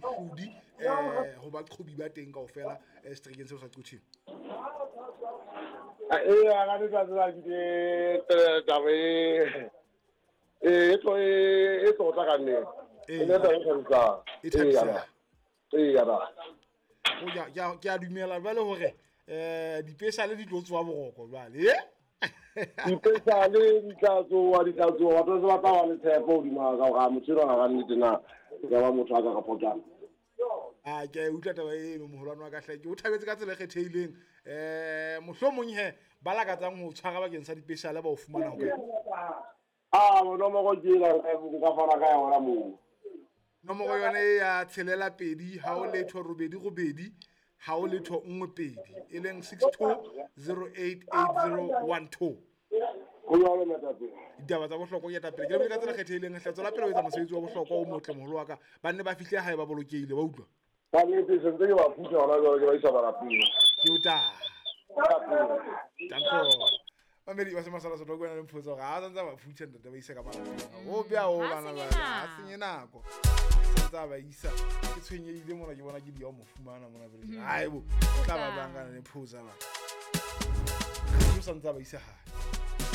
Mohlodi ho baqhobi ba teng kaofela seterekeng seo sa Quthing. Ee, ka letsatsi la ke taba e tlo e tlotla ka nnete. E ne taba e thabisang. E thabisang. Ee, ya ba. Ke a dumela jwale hore dipeshale di tlo tsoha boroko jwale. Dipeshale di tla tsoha, di tla tsoha. Batho ba tla ba le tshepo hodima ka hore motho enwa ka nnete na e ka ba motho a ka kapo jang. A ke a utlwa taba eno moholwane wa ka hle, ke o thabetse ka tsela e kgethehileng. Mohlomong he ba lakatsang ho tshwara bakeng sa dipeshale ba o fumana ho kae? A nomoro ke ena, nka fana ka yona moo. Nomoro yone e ya 62 0 8 8 0 0 1 2, e leng 6208 8012. Ho jwalo, moetapele. Ditaba tsa bohlokwa ke etapele. Ke lebile ka tsela kgethehileng hle, tswela pele ho etsa mosebetsi wa bohlokwa o motle moholo wa ka. Ba nne ba fihle hae ba bolokehile, wa utlwa? Ka nnete, se ntse ke ba phutha hona jwale, ke ba isa malapeng. Ke o tla. Danko. Mamedi ba se masala sotho ko wena le mphotsa hore ha santse ba phutha ntate ba isa ka malapeng. O bea o Ha bana senye ba, ha nako. senye nako. Santse ba isa. Ke tshwenyehile mona, ke bona ke di ya ho mo fumana mona pele. Haebo, o tla ba bang kana le mphotsa ba. O santse ba isa hae.